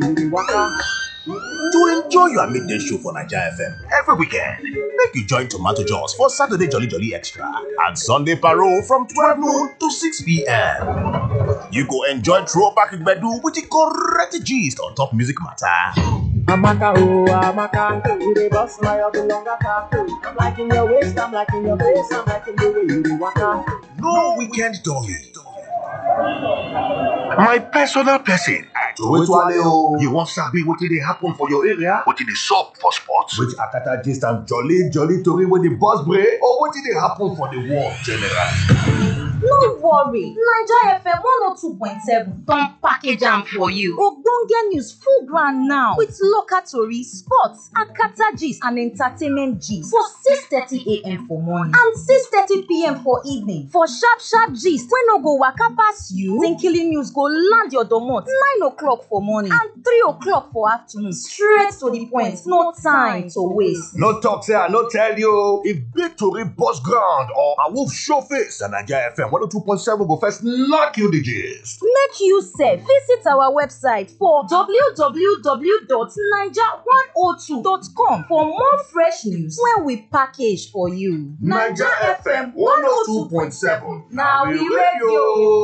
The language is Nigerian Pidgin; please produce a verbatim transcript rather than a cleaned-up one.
To enjoy your midday show for Naija F M every weekend, make you join Tomato Jaws for Saturday Jolly Jolly Extra and Sunday Parole from twelve noon to six p m. You go enjoy throwback gbedu with the correct gist on top music matter. Amaka, oh, Amaka, you dey bust my up longer car. I'm liking your waist, I'm liking your face, I'm liking the way you dey waka. No weekend dolly. My personal person, Ajowetuale o. You wan sabi wetin dey happen for your area? Wetin dey sup for sports? Which akata gist and jolly jolly tori wey dey burst brain, or wetin dey happen for the world generally? No worry, Naija F M one oh two point seven don package am for you. Ogbonge news full ground now with local tori, sports, akata gist and entertainment gist for six thirty a m for morning and six thirty p m for evening for sharp sharp gist wey no go waka pass you. Tinkily news go land your domot nine o'clock for morning and three o'clock for afternoon. Straight to the point, no time to waste. No talk say I no tell you. If big tori burst ground or a wolf show face, na Naija F M one oh two point seven go first knock you the gist. Make you sef visit our website for w w w dot naija one oh two dot com for more fresh news wey we package for you. Naija F M one oh two point seven, na we radio.